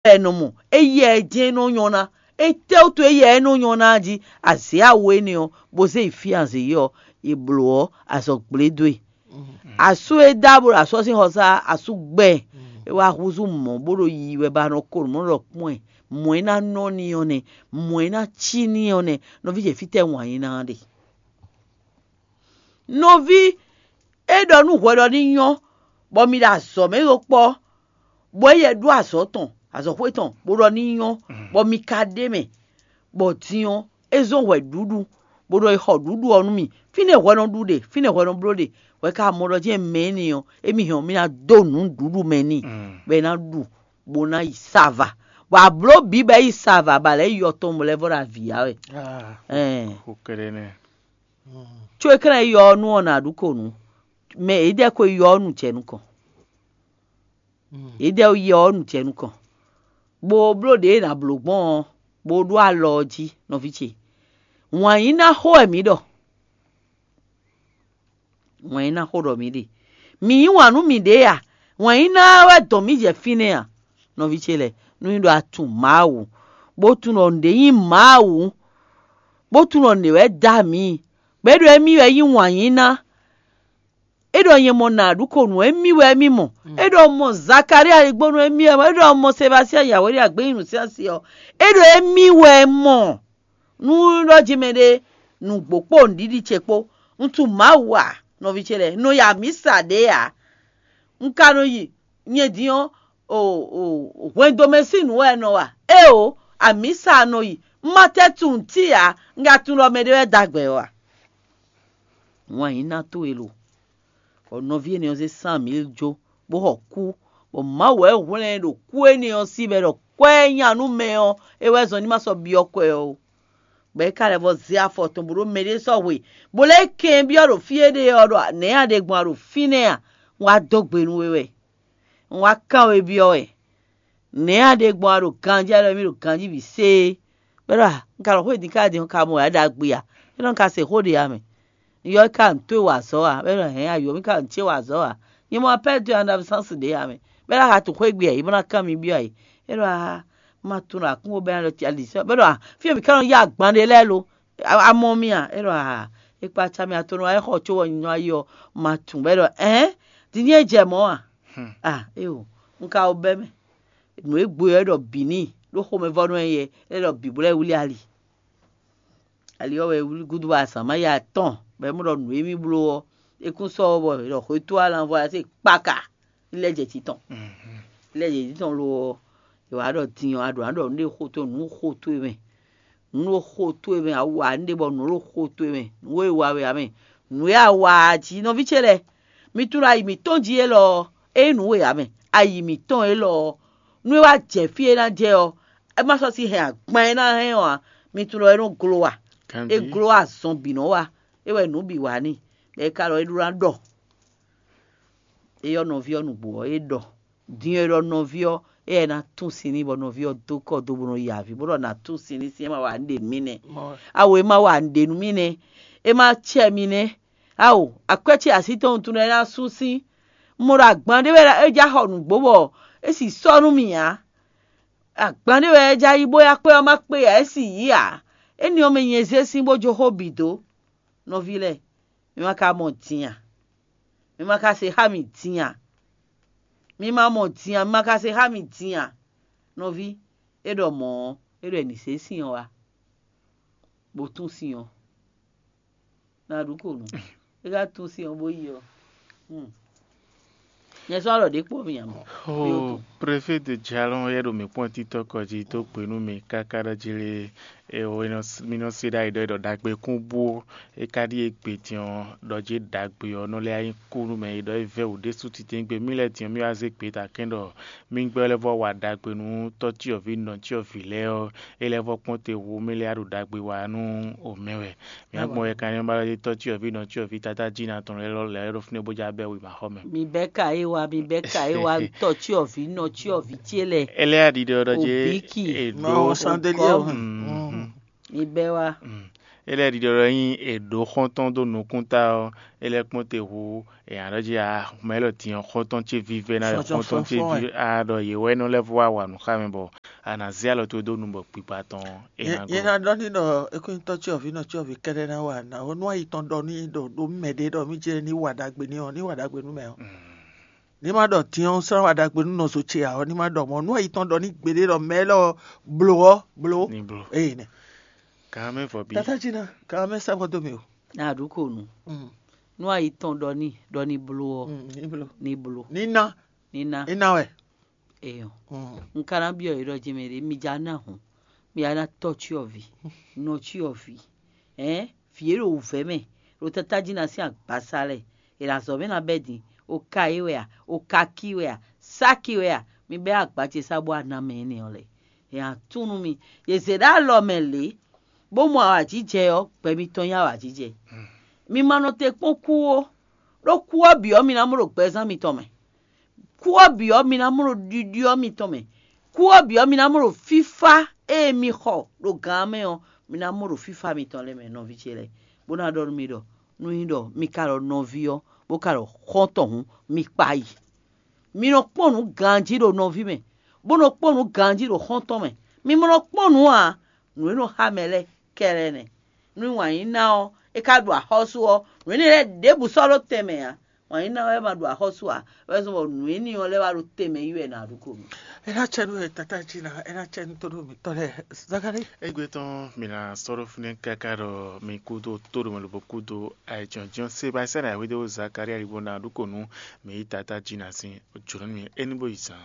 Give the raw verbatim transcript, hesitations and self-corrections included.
wɛ è nɔ mɔ, éyɛ́ ɛ jɛ́n nɔ nyɔ́ ná. Étɛ́wútu éyɛ́ ɛ nɔ nyɔ́ ná jí? Azě awo énɛ́ ɔ́, bó zé yi fí azě yi ɔ́, è blǒ ɔ́, azɔ̌ gblé dó e. Asú e dó awu ɖo asú ɔ́ sín xɔsá, asú gbɛ ɛ, é wá húzú mɔ̌ bó ɖo yiyi wɛ bɔ a nɔ ko nǔ mɔ ɖɔ kpɔ́n ɛ. Mɔ̌ é ná nɔ n'i ɔ́ nɛ́, mɔ̌ é ná cí n'i ɔ́ nɛ́. Nɔví ce, fítɛ́ wǎn yí ná ɖe? Nɔví, é ɖɔ nú hwɛ ɖɔ ní nyɔ́, bɔ mi ɖo azɔ̌ mɛ ɖó kpɔ́, bɔ éyɛ́ ɖó azɔ̌ tɔn, azɔ̌xwé tɔn, bó ɖɔ ní nyɔ́, bɔ mi ka ɖ'é mɛ, bɔ din ɔ́, é zɔ́n hwɛ ɖuɖu, bó ɖɔ è xɔ ɖuɖu ɔ́ nú mì. Fínɛ́ hwɛ nɔ ɖu ɖe, fínɛ́ hwɛ nɔ bló ɖe, hwɛ ka mɔ ɖɔ jɛ́n mɛ énɛ́ ɔ́, émí hɛn ɔ́, mì ná dó nǔɖuɖu mɛ n'i, bɔ é ná ɖu, bó ná yi sava. Bɔ abló bǐ bɔ é yi sava, bɔ alɛ yɔ tɔn lɛ́ vɔ ɖo avǐ ya wɛ. Ɛn. Có é ká ná yɔ ɔ́ nú ɔ́ nǎ ɖu ko nǔ. Mɛ e dɛ́ ko yɔ ɔ́ nu jɛ nukɔn. E dɛ́ yɔ ɔ́ nu jɛ nukɔn, bó bló ɖě e è nǎ bló gbɔn ɔ́, bó ɖó alɔ ɔ́ jí, nɔví ce. Wǎn yí ná xo wɛ mǐ ɖɔ. Wǎn yí ná xo ɖɔ mǐ ɖe. Mǐ yí wǎn nú mǐɖée a? Wǎn yí ná wɛ dɔn mǐ jɛ fínɛ́ a? Nɔví ce lɛ́ɛ, nú nyí ɖɔ a tunwun Mawu, bó tunwun ɖɔ nǔɖé nyí Mawu, bó tunwun ɖɔ nǔɖé wɛ dó amǐ, bɔ é ɖɔ émí wɛ nyí wǎn yí ná. É ɖɔ nyɛ mɔ nǎ ɖu ko nǔ émí wɛ émí mɔ. É ɖɔ mɔ Zakalía e gbónú émí wɛ mɔ. É ɖɔ mɔ Sebastian Yawéɖi agbényinú sín asi ɔ́. É ɖɔ émí wɛ mɔ. Nú ɖɔ jí mɛɖé nǔgbó kpó nǔɖiɖi ce kpó, un tunwun Mawu a, nɔví ce lɛ́ɛ, un nɔ yi amǐsa ɖě ǎ. Un ka nɔ yi nyɛ din ɔ́, hwɛndo mɛ sín nǔ wɛ un nɔ wa. Éeǒ, amǐsa nɔ yi. Un ma tɛ́ tunwun tí ǎ, un ka tunwun ɖɔ mɛɖé wɛ dó agbɛ ɔ́ a? Wǎn yí ná towe lo. Bɔ nɔví énɛ́ ɔ́ zé Samuwɛ́li jó, bó xɔ kú, bɔ Mawu wɛ hwlɛ́n ɛ ɖo kú énɛ́ ɔ́ sí bɔ é ɖɔ kwɛ́ e nya nú mɛ ɔ́, é wɛ zɔn ní ma sɔ́ byɔ́ kwɛ ɔ́ ó. Bɔ é ka lɛ́ vɔ zé afɔ tɔn bó ɖó mɛɖé sɔ́ hwe, bó lɛ́ kɛn byɔ́ ɖo fí éɖée ɔ́ ɖɔ nɛ̌ a ɖe gbɔn a ɖo fínɛ́ a? Un wá dó gbe nú we wɛ. Un wá kán we byɔ́ wɛ. Nɛ̌ a ɖe gbɔn a ɖo ganjí a ɖɔ émí ɖo ganjí bǐ séé? Bɔ é ɖɔ a, un ka ɖɔ xó e din ká din ɔ́ ka mɔ wɛ a ɖagbe a? É ɖɔ un ka se xó ɖě a mɛ. Un yɔ é ka nǔ towe wa azɔ̌ a? Bɔ é ɖɔ hɛ̌n, ayǒ mì ka nǔ ce wa azɔ̌ a? Nyɛ mɔ apɛ́ dó an ɖo absɛ́nsi ɖě a mɛ. Bɔ é ɖɔ a ka tunwun xwé gbe a? É bó ná kán mi byɔ́ a? É ɖɔ a, ma tunwun ɖɔ akúnwo bɛ́ ná ɖɔ ali sɛ́. Bɔ é ɖɔ a, fí e mǐ ka nɔ yá agban ɖe lɛ́ɛ lo? A mɔ mi a? É ɖɔ a, é kpa acá mì atɔ́nú wá é xɔ có wɔ nyɔ ayɔ ma tunwun. Bɔ é ɖɔ ɛ̌n, din ní é jɛ mɔ̌ a? A éo, un ka wo bɛ́ mɛ. Nǔ e gbo ɔ́ é ɖɔ bǐ n'i ɖó xomɛvɔ́nú ɛ yɛ, é ɖɔ bǐ bó lɛ́ wlí ali. Ali ɔ́ wɛ wlí gúdo bɔ azǎn má ya tɔn, bɔ é mɔ ɖɔ nǔ e mì bló ɔ́, é kún sɔ́ ɔ́ bɔ è ɖɔ xwetó alanvɔ ɔ́ se kpaka, lɛ́ jɛ jǐ tɔn. Lɛ́ jɛ jǐ tɔn lo ɔ́, è wǎ ɖɔ din ɔ́, a ɖǒ ná ɖɔ nǔ ɖé xo towe, nǔ xo towe mɛ. Nǔ ɖo xo towe mɛ, a wa nǔ ɖé bɔ nǔ ɖo xo towe mɛ, nǔ e wa wɛ ǎ mɛ. Nǔ e a wa jí nɔví ce lɛ́ɛ, mi tunwun ayi mǐtɔn jí élɔ́ ɔ́, é nyí nǔ e ǎ mɛ. Ayi mǐtɔn élɔ́ ɔ́, nú é wá jɛ fí e é ná jɛ ɔ́, é má sɔ́ sí hɛn agban e é ná hɛn ɔ́ ǎ. Mi tunwun ɖɔ é nɔ́ glo a? É glo azɔn bǐ nɔ́ wa. É wɛ nǔ bǐ wa n'i, bɔ é ka ɖɔ é ɖó ná ɖɔ. É yɔ́ nɔví ɔ́ nǔgbó ɔ́, é ɖɔ. Din e ɖɔ nɔví ɔ́, éyɛ́ ná tún sin n'i bɔ nɔví ɔ́ dó kɔ do bó nɔ yi avǐ, bó ɖɔ nǎ tún sin n'i sín é ma wa nǔɖé nú mì nɛ́. Awo é ma wa nǔɖé nú mì nɛ́. É ma cɛ mi nɛ́. Ao, akwɛ́ ce así tɔn wuntun lɛ́ɛ ná sú sín. Un mɔ ɖɔ agban ɖé wɛ é já xɔ nǔgbó bɔ é sì sɔ́ nú mì ǎ. Agban ɖé wɛ é já yí bó yá kpé ɔ́ má kpé ǎ, é sì yí ǎ. Éni ɔ́ mɛ nyɛ zé sín bó jó xó bǐ dó. Nɔví lɛ́ɛ, mi ma ka mɔ din a? Mi ma ka se xá mì din a? Mi ma mɔ din a? Mi ma ka se xá mì din a? Nɔví, é ɖɔ mɔ̌ ɔ́, é ɖɔ è nǐ zé sin ɔ́ wá, bó tún sin ɔ́. Ná ɖu kò nú é ka tún sin ɔ́ bó yi ɔ́. Nyɛ sɔ́ alɔ ɖě kpɔ́ mì ǎ mɔ. Ó, Préfé de Jalɔn yɛ ɖo mǐ kpɔ́n títɔ́ kɔ jí dó gbe nú mì káká ɖɔ jí lé. E o, mi nɔ se ɖ'ayǐ ɖɔ é ɖɔ ɖagbe kún bú é ká ɖíe gbe din ɔ́, ɖɔ jí ɖagbe ɔ́ nɔ lɛ́ nyí kú nú mɛ e ɖɔ é vɛ́ wǔ ɖésú titewungbe mì lɛ́ɛ din ɔ́, mì wá zé gbeta kɛ́n ɖɔ mì gbɛ́ lɛ́ vɔ́ wa ɖagbe nú tɔ́cyɔvǐ nɔcyɔvǐ lɛ́ɛ ɔ́, é lɛ́ vɔ́ kpɔ́n te hu mì lɛ́ wá ɖo ɖagbe wa nú omɛ wɛ. Mǐ gbɔn wɛ kanlin ba ɖɔ tɔ́cyɔvǐ nɔcyɔvǐ tata jí na tɔn lɛ́ɛ lɛ́ɛ ɖo fínɛ́ bó já bɛ́ wěmaxɔmɛ. Mi bɛ́ ka é wá, mi bɛ́ ka é wá, tɔ́cyɔvǐ nɔcyɔvǐ ce lɛ. Éliya ɖiɖɔ ɖɔ jɛ Obiki. È ɖó Mawu sandeliya. Mi bɛ́ wá. Mm. É lɛ́ ɖiɖɔ ɖɔ ényí è ɖǒ xɔ́ntɔn dó nukúnta ɔ́, é lɛ́ kpɔ́n te hu è nǎ ɖɔ jí a mɛ élɔ́ din ɔ́, xɔ́ntɔn ce vívɛ́ ná wɛ, xɔ́ntɔn ce ví a ɖɔ yě wɛ nɔ lɛ́ vɔ wá wa nǔ xá mɛ bɔ a nǎ zé alɔ towe dó nu bɔ kpikpa tɔn ɔ́, é ná Nyɛ ná glo. Ɖɔ n'i ɖɔ ékúnyitɔ́ cyɔ́vǐ nɔ cyɔ́vǐ kɛ́ɖɛ́ ná wa nǎ ɔ́, nú ayi tɔn ɖɔ n'i ɖɔ ɖó mɛ ɖé ɖɔ mì jɛ ní wa ɖagbe n'i ɔ́, ní wa ɖagbe nú mɛ ɔ́. Ní ma ɖɔ din ɔ́, slán wa ɖagbe nú nɔzo ce ǎ ɔ́, ní ma ɖɔ mɔ̌. Nú ayi tɔn ɖɔ ní gbeɖé ɖɔ mɛ élɔ́ ɔ́, blo ɔ́, blo. Ní blo. Eye nɛ. Kan mɛ vɔ bí. Tata Jina, kan mɛ sɛbɔ dó mi o. Na ɖu ko nu. Mm, Nú ayi tɔn ɖɔ ní ɖɔ ní blo ɔ́, mm, ní blo. Ní blo. Ní ná. Ní ná. Ní ná wɛ. Eyɔn. Mm. Un ka ná byɔ́ yě ɖɔ jɛmɛ ɖé, mi ja ná hǔn, mi ja ná tɔ́ cyɔ́vǐ, nɔ cyɔ́vǐ, ɛ̌n, vǐ e ɖo wǔvɛ́ mɛ, ɖo tátájínà sín agbasa lɛ́ɛ, è nǎ zɔ mɛ ná bɛ́ din, o ka é wɛ a, o ka kí wɛ a, sáki wɛ a, mi bɛ́ agba ce sá bó wá ná mɛ énɛ́ ɔ́ lɛ́ɛ. È nǎ tún nú mi, yě zě ɖó alɔ mɛ lě, bó mɔ awǎjijɛ ɔ́, gbɛ mitɔn nyí awǎjijɛ. Mi ma nɔ te kpɔ́n kú ó, ɖó kú ɔ́ bǐ ɔ́, mi ná mɔ ɖo gbɛzán mitɔn mɛ. Kú ɔ́ bǐ ɔ́, mi ná mɔ ɖo ɖiɖyɔ́ mitɔn mɛ. Kú ɔ́ bǐ ɔ́, mi ná mɔ ɖo fífá e mi xɔ ɖo gǎn mɛ ɔ́, mi ná mɔ ɖo fífá mitɔn lɛ́ɛ mɛ, nɔví ce lɛ́ɛ, bó ná ɖɔ nú mi ɖɔ, nú nyí ɖɔ mi ka ɖɔ nɔví ɔ́, bó ka ɖɔ xɔ́ntɔn hǔn, mi kpa yi. Mi nɔ kpɔ́n nǔ ganjí ɖo nɔví mɛ, bó nɔ kpɔ́n nǔ ganjí ɖo xɔ́ntɔn mɛ. Mi ma nɔ kpɔ́n nǔ ǎ, nǔ e nɔ xá mɛ lɛ́ɛ kɛlɛ nɛ. Nú wǎn yí ná ɔ́, é ka ɖu axɔ́sú ɔ́, nǔ énɛ́ lɛ́ɛ ɖěbǔ sɔ́ ɖó tɛnmɛ ǎ. Wǎn yí ná wɛ ma ɖu axɔ́sú ǎ, wɛ zɔn bɔ nǔ énɛ́ ɔ́ lɛ́ wá ɖo tɛnmɛ yí wɛ nǎ ɖu ko mì. É ná cɛ nú we tata jí ná, é ná cɛ nú tóɖó mǐtɔn lɛ́ɛ. Zakalí. Égbé tɔn mi ná sɔ́ ɖó fínɛ́ káká ɖɔ mi kúdó tóɖomɛ lobo kúdó ayǐjɔ́njɔ́n Sebastiyani ayǐhwedó Zakalía libo ná ɖu ko nú mi yí tata jí ná sín jǒnɔ nú mi é ní bó yi zan.